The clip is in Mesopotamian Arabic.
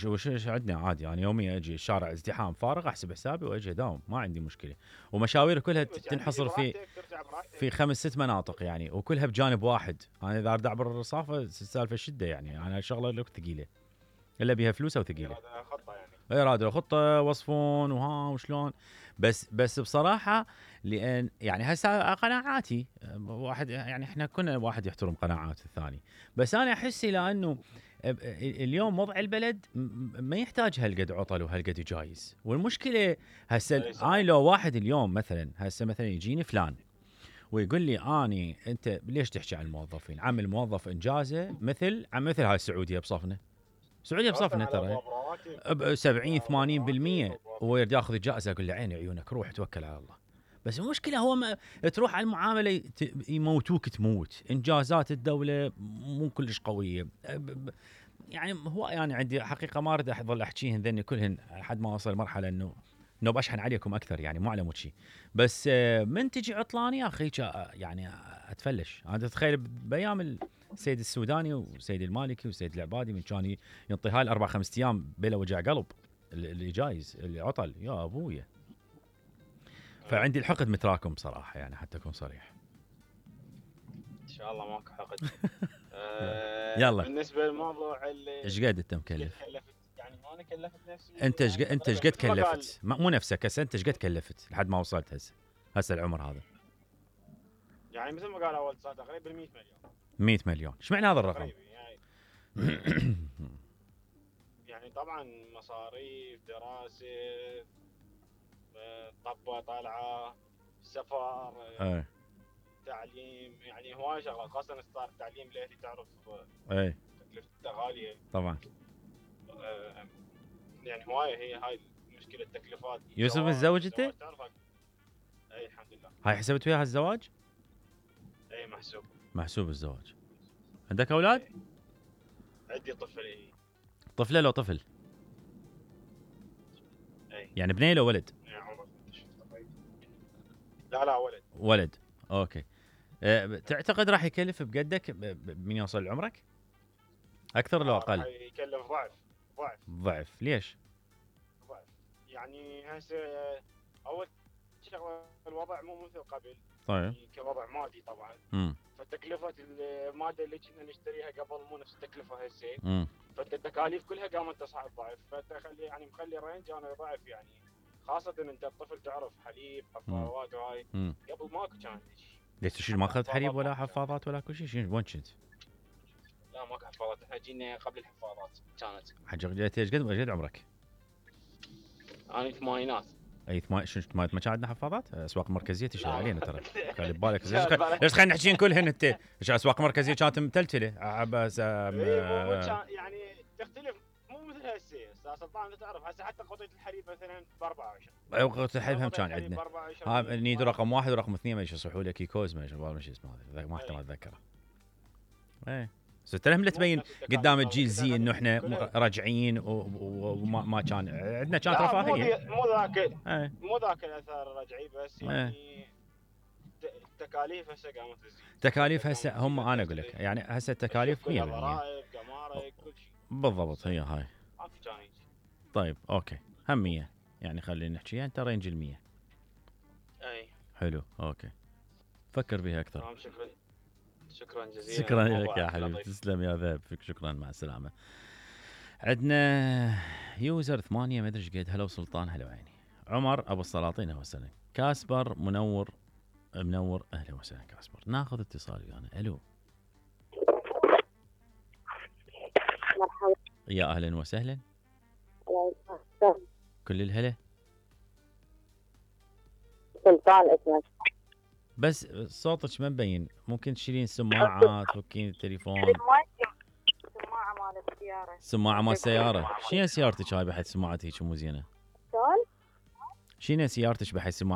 وش عندنا عادي. انا يوميا اجي الشارع ازدحام فارغ احسب حسابي واجي اداوم ما عندي مشكله. ومشاوير كلها تنحصر في 5-6 مناطق يعني، وكلها بجانب واحد. انا اذا اريد اعبر الرصافه السالفه شده يعني، انا شغله لك ثقيله الا بيها فلوسها وثقيله. خطه يعني اراده خطه وصفون وها وشلون. بس بصراحه لان يعني هسه قناعاتي واحد يعني، احنا كنا واحد يحترم قناعات الثاني. بس انا احس لانه اليوم وضع البلد ما يحتاج هالقد عطل وهالقد جايز. والمشكله هسه انا لو واحد اليوم مثلا هسه مثلا يجيني فلان ويقول لي اني انت ليش تحكي عن الموظفين؟ عم الموظف انجازه مثل هاي السعوديه بصفنا. السعوديه بصفنا ترى ب 70 80% هو يريد ياخذ الجائزه. اقول له عيني عيونك روح توكل على الله. بس المشكله هو ما تروح على المعامله يموتوك تموت. انجازات الدوله مو كلش قويه. يعني هو يعني عندي حقيقه ما اريد اظل احكيهن ذني كلهن لحد ما اوصل مرحله انه بشحن عليكم اكثر يعني مو على مود شيء. بس من تجي عطلان يا اخي يعني اتفلش. انا تتخيل بايام السيد السوداني وسيد المالكي وسيد العبادي من كان ينطي هاي 4-5 ايام بلا وجع قلب اللي جايز اللي عطل يا ابويا. فعندي الحقد متراكم بصراحه يعني حتى اكون صريح. ان شاء الله ماكو حقد. يلا بالنسبه للموضوع اللي ايش قد انت مكلف؟ يعني انا كلفت نفسي. انت ايش قد كلفت؟ مو نفسك هسه، انت ايش قد كلفت لحد ما وصلت هسه العمر هذا؟ يعني مثل ما قال اول صار تقريبا 100 مليون. 100 مليون ايش معنى هذا الرقم؟ يعني طبعا مصاريف دراسه طبه طالعه سفر تعليم، يعني هواي شغلات خاصه صار التعليم لاهلي تعرف تكلفته غاليه طبعا. يعني هوايه هي هاي مشكله التكلفات. يوسف متزوج انت؟ اي الحمد لله. هاي حسبت وياها الزواج؟ اي محسوب الزواج. عندك اولاد؟ عندي طفل. طفله لو طفل؟ اي يعني بنيه لو ولد؟ لا ولد. اوكي. تعتقد راح يكلف بقدك من يوصل لعمرك؟ اكثر لو اقل؟ راح يكلف ضعف. ليش؟ ضعف يعني هسه اول شغله الوضع مو مثل قبل. طيب يعني كوضع مادي طبعا. فتكلفه الماده اللي كنا نشتريها قبل مو نفس التكلفه هسه. فالتكاليف كلها قامت تصعد ضعف. فتخلي يعني مخلي رينج انا ضعف يعني، خاصه انت الطفل تعرف حليب حفاضات وهاي قبل ماكو كان شيء. ليش تشيل ما اخذت حليب ولا حفاضات ولا كل شيء؟ وين كنت؟ لا ماكو حفاضات، احنا جينا قبل الحفاضات كانت. حجر جيت قد عمرك؟ انا ثمانينات. اي شنو ما عندنا حفاضات؟ اسواق مركزيه تشتغل علينا ترى. خلي ببالك ليش خلينا نحكي كلهن انت اسواق مركزيه كانت متلتله بس يعني تختلف مو مثل هسه. استاذ سلطان انت تعرف هسه حتى قطعه الحليب مثلا ب 24. قطعه الحليب هم كان عندنا. ها نيدو رقم 1 ورقم 2 ما يصحوا لك كيكوز ما اسمه هذا ما احتمال اتذكره. اي سترهم لا تبين قدام الجيل زي انه احنا راجعين وما كان عندنا كانت رفاهيه. مو ذاك الاثار الرجعي بس يعني التكاليف هسه قامت تزيد. تكاليف هسه هم انا اقول لك يعني هسه التكاليف 100%. ضرائب جمارك كل شيء بالضبط هي هاي. طيب اوكي هم 100 يعني خلينا نحكيها انت رينج ال 100. اي حلو اوكي فكر بها اكثر. شكرا جزيلا. شكرا لك يا حبيبي تسلم يا ذهب فيك. شكرا مع السلامه. عندنا يوزر 8 ما ادري ايش قد. هلا سلطان هلا وعيني. عمر ابو السلاطين اهلا وسهلا. كاسبر منور اهلا وسهلا كاسبر. ناخذ اتصال ويانا. الو مرحبا. يا اهلا وسهلا. كل الهلا. سلطان اسمك بس صوتك ما مبين. ممكن تشيلين السماعات تفكين التليفون. سماعة مال السيارة. سماعة مال السيارة. شنو سيارتك هاي بحيث سماعتك هيك مو زينة؟ شنو سيارتك بحيث سماعة